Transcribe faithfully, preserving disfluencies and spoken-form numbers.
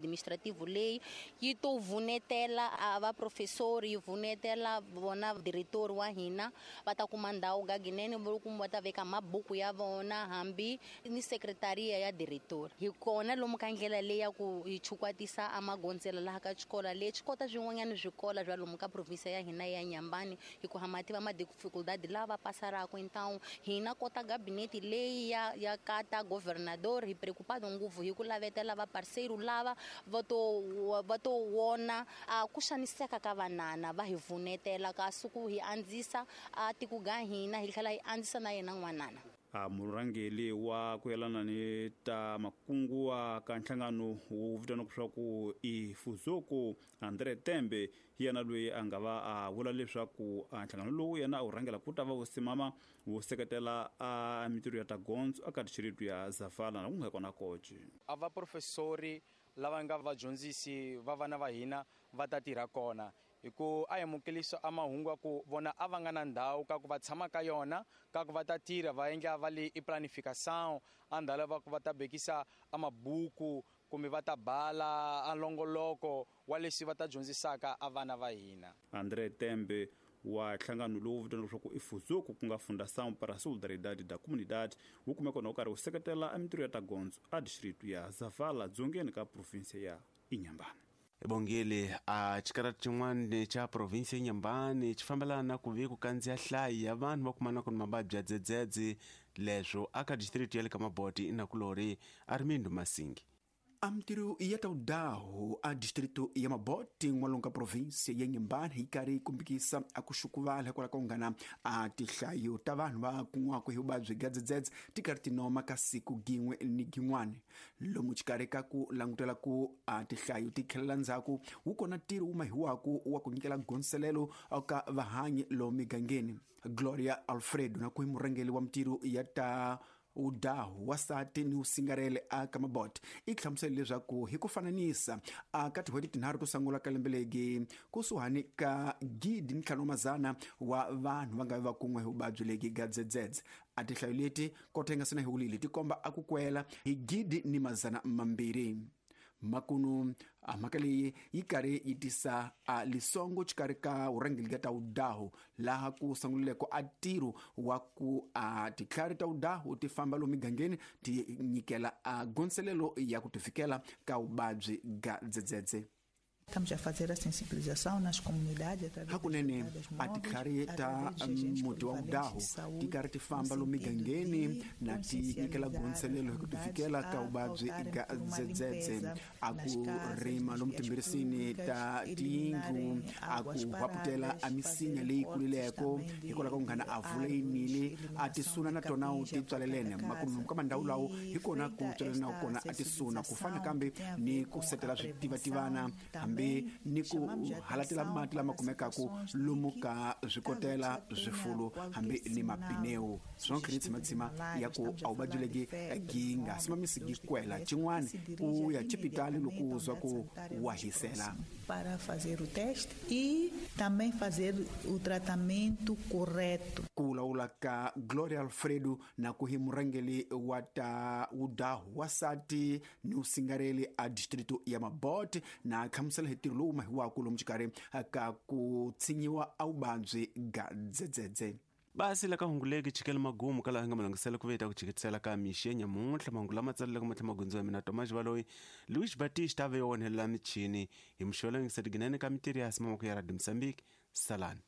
Administrativo leyi yi to vunetela a va professori yi vunetela vona diretor wa hina va ta kuma ndhawu gaginene va ta veka mabuku ya vona hambi ni sekretaria ya diretor. Hi kona lomu ka ndlela leyi ya ku hi chukwatisa a magondzela laha ka xikola lexi kota swin'wanyana swikola bya lomu ka province ya hina ya Inhambane hi ku ha mativa ma dificuldade lava pasaraka. Então hina kota gabinete leyi ya ya kata governador hi preocupado ngopfu hi ku lavetela va parceiro lava va to va to wona a ku xaniseka ka vanana va hi vunetela ka suku hi andzisa a tiko ga hina hi tlhela hi andzisa na yena n'wanana. A murhangeri wa ku yelana ni ta makungu wa ka nhlangano wu vitaniwaka leswaku i Fuzuku Andre Tembe hi yena loyi a nga va a vula leswaku a nhlangano lowu yena a wu rhangela ku ta va wu simama wu seketela a mitirho ya ta gondzo eka distrito ya Zavala na ku nga kona koci. A va professori lava nga vadyondzisi va vana va hina va ta tirha kona hi ku a amukelisa a mahungu ya ku vona a va nga na ndhawu ka ku va tshama ka yona ka ku va ta tirha va endla va le i planification a ndhawu va ku va ta bekisa a mabuku kumbe va ta bala a longoloko wa leswi va ta dyondzisaka a vana va hina. Andre Tembe wa nhlangano lowu vitaniwaka leswaku i Fuzuku ku nga Fundação para a Solidariedade da Comunidade wu kumeka na wu karhi wu seketela a mitirho ya ta gondzo a distrito ya Zavala dzongeni ka province ya Inhambane. Bongile a xikarati xin'wana xa province ya Inhambane xi fambelana na ku vi ku kandziya hlayi ya vanhu va kumanaka ni mavabyi ya dzedzedze leswo aka district ya le ka Maboti inakulori Armindo Masingi. A mitirho ya ta wudahu a distrito ya Maboti n'walungu ka province ya Inhambane yi karhi yi kombekisa a ku xukuvala hikwalaho ka ku ngana a tihlayo ta vanhu va kun'waka hi vuvabyi bya dzedzedze ti karhi ti noma ka siku gin'we ni gin'wana. Lomu xikarhi ka ku langutela ku a tihlayo ti tlhelela ndzhaku wu kona ntirho wu mahiwaku wa ku nyikela gondzelelo ka vahanyi lomu migangeni. Gloria Alfredo na ku hi murhangeri wa mitirho ya ta udahu wasati ni usingarele a ka Maboti i hlamusela leswaku hi ku fananisa a ka tin'hweti tinharhu to sungula ka lembe legi kusuhani ka gidi ni ntlhanu mazana wa vanhu va nga va kun'we hi vuvabyi legi ga dzedzedze. A tihlayo leti kota yi nga sina hi wulile ti komba a ku kwela hi gidi ni mazana mambirhi. Makunu a mhaka leyi yi karhi yi tisa a lisongo xikarhi ka vurhangeri ka ta wudahu laha ku sungulileko a ntirho wa ku a titlhari ta wudahu ti famba lomu migangeni ti nyikela a gondzelelo ya ku tifikela ka vuvabyi ga dzedzedze. Estamos a fazer a sensibilização nas comunidades através hakunene a titlhari ta muti wa wudahu ti karhi ti famba lomu migangeni na ti nyikela gondzelelo hi ku tifikela ka vuvabyi ga dzedzedze. A ku rima lomu timbirisini ta tiyindlu a ku hwaputela a misinya leyi kulileko hikwalaho ka ku nghana a vula yinile a tisuna na tona ti tswalelene makumu ka mandhawu lawo hi kona ku tswalelana kona a tisuna ku fana kambe ni ku setela switivativana hambi ni ku halatela mati lama kumekaku lomu ka swikotela swifulu hambi ni mapineu swonke ni tshimatsima ya ku a vuvabyi legi gi nga simamisi gi kwela xin'wana ku ya xipitali loko u zwa ku wa hisela. Para fazer o teste e também fazer o tratamento correto. Ku vulavula ka Gloria Alfredo na ku hi murhangeri wa ta wudahu wasati ni usingareli a distrito ya Maboti na hlamusela hi ntirho lowu mahiwaku lomu xikarhi ka ku tshinyiwa a vuvabyi ga dzedzedze. Basi la ka hunguleki chikele magumu kala nga malungisela ku veta ku chiketisela ka mixi nyamuntlha mahungu lama tsaleleke matlhela magondzo ya mina Tomas Baloyi Luis Batista ve wonhelela michini hi muxolo ngisetiginene ka mitirho ya simamako ya Radio Mozambique. Salani.